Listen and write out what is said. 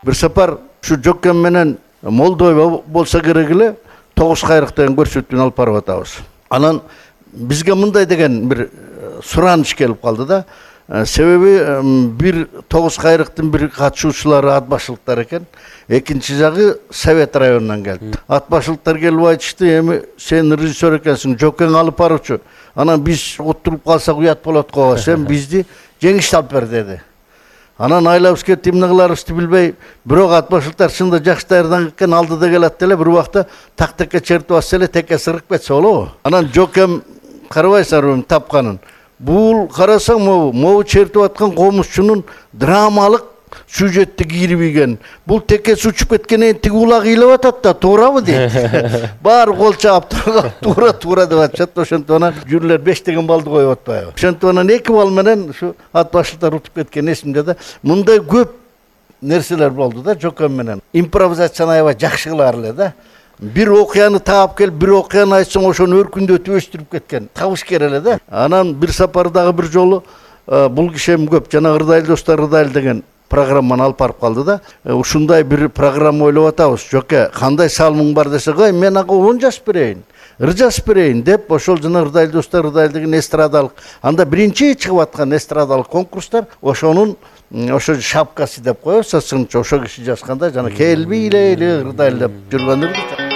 бир сапар ушу Жокем менен Молдова болсо керек эле 9 кайрык деген көрсөтүүнү алып барып атабыз. Анан бизге мындай деген бир сураныч келип калды да. Себеби бир 9 кайрыктын бир катышуучулары ат башчылыктар экен. Экинчи жагы Совет районунан келди. Ат башчылыктар келип айтышты, эми сен режиссер экенсиң, Жокең алып барчу. Анан биз отуруп калсак уят болот го, сен бизди жеңишти алып бер деди. Анан айлабыз кетти, эмне кыларыбызды билбей, бирок ат башчылыктар чында жакшы даярданган экен, алдыда келет эле, бир убакта так-такке чертип атса эле текке сырып кетсе болобу? Анан Жокем карабайсыңарбы тапканын. Бул карасаң могу чертип аткан комузчунун драмалык сюжетти кийирип. Бул теккеси учуп кеткенен тиги улак ыйлап атат да, туурабы дейт. Баары кол чаап туура деп атышат. Ошентип анан жүрүлөр 5 деген балды коюп атпайбы. Ошентип анан 2 бал менен ушу ат башчылыктар утуп кеткен эсимде да. Мындай көп нерселер болду да Жокем менен. Импровизацияны аябай жакшы кылар эле да. Bir окуяны таап келип, bir окуяны айтсаң, ошону өркүндөтүп өстүрүп кеткен. Табыш эле да. Анан бир сапардагы бир жолу бул киши эми көп, жана Ырдайыл достор Ырдайыл деген программаны алып барып калды да. Ушундай бир программа ойлоп атабыз. Жоке, кандай салымың бар десе, "Кой, мен ага он жазып берейин, ыр жазып берейин" деп, ошол жана Ырдайыл достор Ырдайыл деген эстрадалык, анда биринчи чыгып аткан эстрадалык конкурстар, ошонун ошо шапкасы деп коебуз, ошо киши жазганда жана келбейле Ырдайыл деп жүргөндөрдү